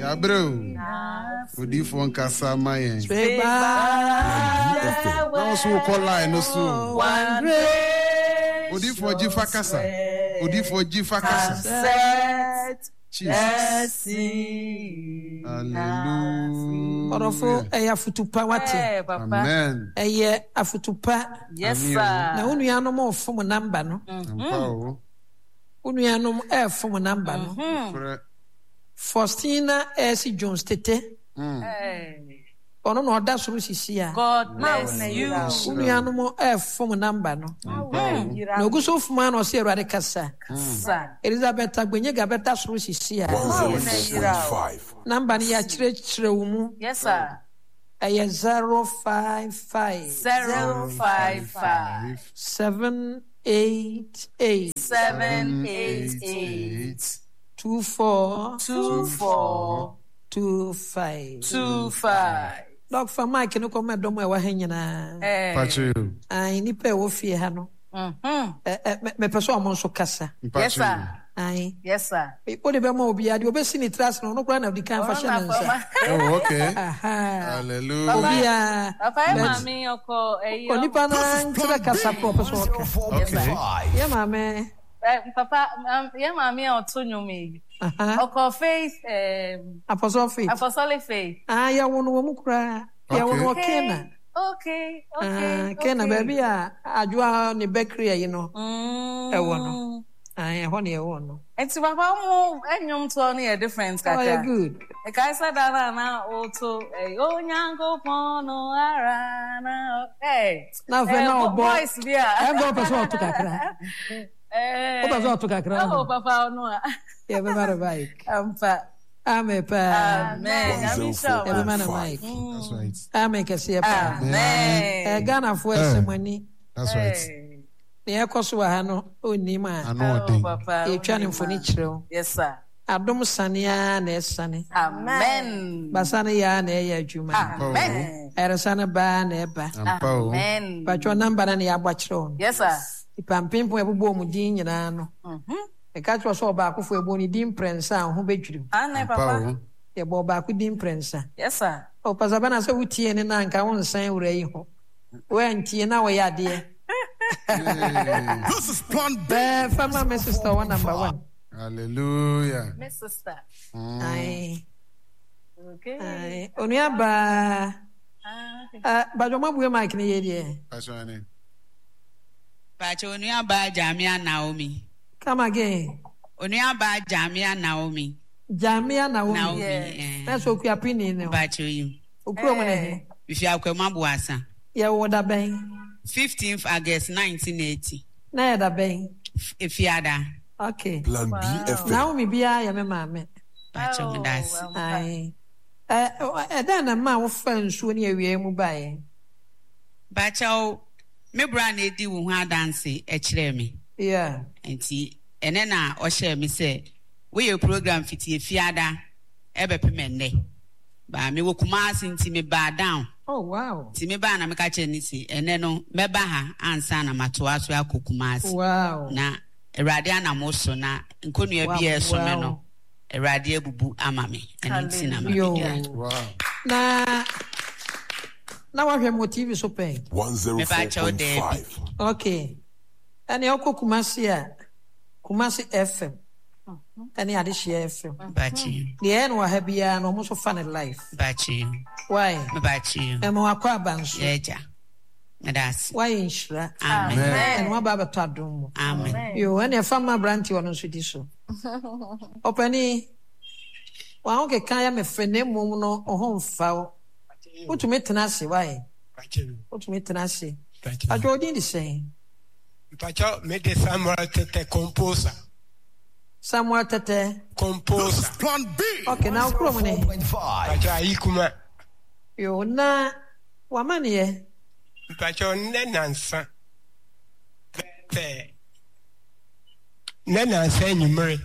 Yɛabrɛ o. Odiyifoɔ nkasa ma yɛn. Na wo so wokɔ line no so o. Odiyifoɔ gyi fa kasa. Odiyifoɔ gyi fa kasa. Jesus. Hallelujah. Ɔdɔfo, ɛyɛ afotu pa wate. Amen. Ɛyɛ afotu pa. Yes sir. Na wo nuanom refom namba no. Ampa o. Wo nuanom refom namba no. Nokorɛ. Faustina Elsie Jones Tete. Ɔno na ɔda soro sisi a. God bless you. Wo nuanom refom namba no. Na ogu so fom a na ɔsɛ Awurade kasa. Elizabeth Agbenyega bɛda soro sisi a. Namba no yɛakyerɛkyerɛ wo mu. Yes sir. Ɛyɛ 055. 055. 788. 788. 24. 24. 25. 25. Dɔk fa mic no kɔma dɔm a ɛwɔ ha nyinaa. Mpakyɛ o. Ae, nnipa a ɛwɔ fie ha no. Mepɛ sɛ ɔmo nso kasa. Mpakyɛ o. Ae. Yes sir. Wode bɛma obiara, deɛ ɔbɛsi ne tiri ase no, ɔno koraa na ɔdi kan fa hyɛ ne nsa. Oh, okay. Aha. Hallelujah. Obiara. Papa yɛ maame ɔkɔ ɛyi. Onipa no ara nkyerɛ kasa korɔ ɔpɛ sɛ ɔka. Okay. Yɛ maame. Papa, yɛ maame a ɔto nnwom yi. Ɔkɔ faith. Apostolic faith. Apostolic faith. Ah, yɛ wo no wɔ mu koraa. Yɛ wo no wɔ Kena. Okay, okay. Kena baabi a adwoa ne bakery ayi no. Ɛwɔ no. Ah, ɛhɔ na yɛwɔ no. Nti papa mo nnwom toɔ no yɛ different kakra. Oh, yɛ good. Ɛkae sɛ da no a na woto Onyankopɔn no ara na ɛ. Na afei na ɔbɔ voice bi a. Ɛnka ɔpɛ sɛ ɔto kakra. Wopɛ sɛ ɔto kakra. Oh, papa ɔno a. Yɛbɛma no mic. Ampa. Amen paa. Amen. Nyame nhyira wo. Yɛbɛma no mic. That's right. Amen kɛseɛ paa. Amen. Ghanafoɔ ɛsɛ mo ani. That's right. Nea ɛkɔ so wɔ ha no, ɔnnim a. Ano ɔden. Yɛtwa no mfoni kyerɛ wo. Yes sir. Adom sane ara na ɛsane. Amen. Basa no yɛ ara na ɛyɛ adwuma. Amen. Ayaresa no ba ara na ɛba. Ampa o. Amen. Patwɔ namba no na yɛabɔ akyerɛ wo no. Yes sir. Nipa mpempem a ɛbobɔ wɔn din nyinaa no. Meka kyerɛ wo sɛ ɔbaakofo yɛbɔ ne din mprɛnsa a wo ho bɛdwiri wo. Aane Ampa papa. o. Yɛbɔ ɔbaako din mprɛnsa. Yes sir. Oh Pastor Bernard sɛ wotiee ne no a nka wonsan wura yi ho. Woantie na woyɛ adeɛ. This is plan B. Bɛɛ fa ma me sister wɔ number one. Hallelujah. Me sister. Ae. Okay. Ae. Onua baa. Ah, Badwo mo abue mic ne yie deɛ. Pastor Ane. Pacho onua baa Jamia Naomi. Come again. Onua baa Jamia Naomi. Jamia Naomi. Naomi. Yes. Eh. Na so okua pini ne ho. Pacho yi. Okuro mu ne he. Mifi Akwam Aboasa. Yɛ wo da bɛn? 15th August 1980. Na yɛ da bɛn? Efiada. Okay. Plan B FM. Naomi biara yɛ me maame. Pacho me da ase. Ae. Ɛdɛn na ɛmaa wofaa nsuo ne awia mu baeɛ? Pacho, me bra na edi wo ho adanse kyerɛɛ me. Yeah. Nti ɛnɛ na ɔhyɛɛ me sɛ woyɛ program fiti Efiada ɛbɛpem ɛnnɛ. Ba mewɔ Kumasi nti mebaa down. Oh wow. Nti mebaa na meka kyerɛɛ no se ɛnnɛ no mɛba ha ansa na matoa so akɔ Kumasi. Wow. Na Awurade anam wo so na nkonnua bi a ɛso me no Awurade abubu ama me. Ɛno nti na mabɛdua. Wow. Na na wahwɛ me wɔ TV so pɛn? Meba kyɛw daabi. Okay. Ɛnea wokɔ Kumasi a, Kumasi FM ɛne Adehyeɛ FM. Bakye. Deɛ ɛyɛ no wɔ ha biara no, wɔn nso fa no live. Bakye. Why? Bakye. Ɛma wakɔ aba nso. Yɛ agya. Meda ase. Wayɛ nhyira. Amen. Ɛna waba abɛtɔ adom mu. Amen. Yo, ɛna ɛfa ma aberante ɔno nso di so. Ɔpani, wɔn ho keka yɛ me fɛ na mmom no ho mfa wo. Wotumi tena ase, why? Wotumi tena ase. Adwo odin de sɛn? Mpakyɛw, me de Samuel Tete Composer. Samuel Tete. Composer. Plan B. Okay, na okuro mu ne. Mpakyɛw Ayikuma. Yo, na wamaneɛ. Mpakyɛw nnɛ nansa sɛ nnɛ nansa anwummere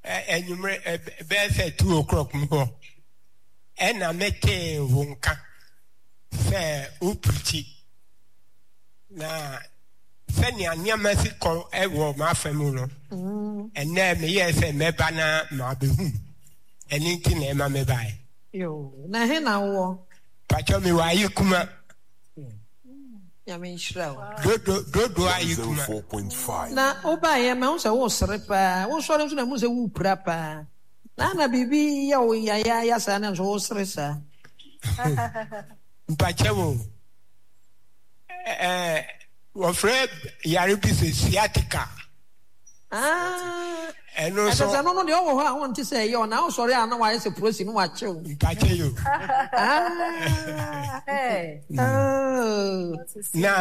anwummere bɛyɛ sɛ 2 o'clock mu hɔ ɛna metee wo nka sɛ wopirikyi na sɛnea nneɛma si kɔ wɔ m'afa mu no, ɛnnɛ meyɛɛ sɛ mɛba na mabehu. Ɛno nti na ɛma mebae. Yoo, na ɛhe na wowɔ? Pakyɛ mewɔ Ayekuma. Nyame nhyira wo. Dodo, dodo Ayekuma. 104.5. Na wobaeɛ mahu sɛ woresere paa, wosɔre nso na mehu sɛ worepira paa. Na na biribi yɛ wo yayaaya saa na nso wosere saa. Mpakyɛ wo, ɛɛ wɔfrɛ yare bi sɛ sciatica. Ah, Ɛno nso. Ɛsɛ sɛ no no deɛ ɔwɔ hɔ a wonte sɛ ɛyɛ ɔna wosɔre a na wayɛ sɛ prosi no wakyew. Mpakyɛ yo. Ah, oh. Na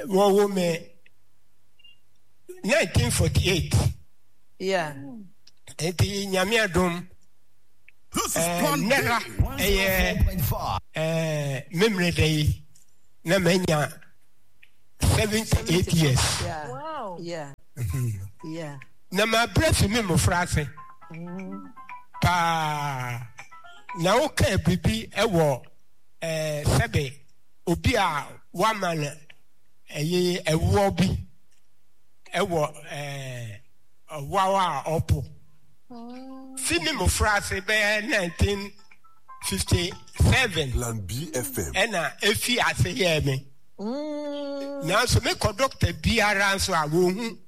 wɔwo me 1948. Yeah. Nti Nyame adom nnɛra ɛyɛ memmerɛ da yi na manya 78 years. Yeah. Yeah. Yeah. Na mabrɛ fi me mmofra ase paa na wokaa biribi wɔ sɛbe obi a wama no ɛyɛ ɛwoɔ bi wɔ ɔwaw a ɔpo fi me mmofra ase bɛyɛ 1957 Plan BFM. ɛna efi ase yɛɛ me nanso mekɔ dɔkta biara nso a wɔhu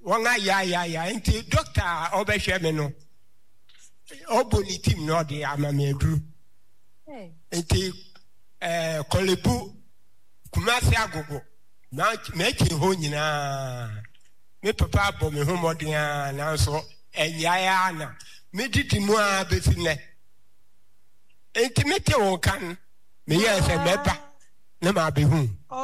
wɔn ayayaya nti dɔkta a ɔbɛhwɛ me no ɔbɔ ne tim na ɔde ama me aduru nti ɛɛ kɔlebu Kumasi Agogo, m'akyi hɔ nyinaa, me papa abɔ me ho mmɔden ara nanso ɛnyae ara na medidi mu ara bɛsi nnɛ. Enti mete wo nka no, meyɛɛ sɛ mɛba na mabɛhu.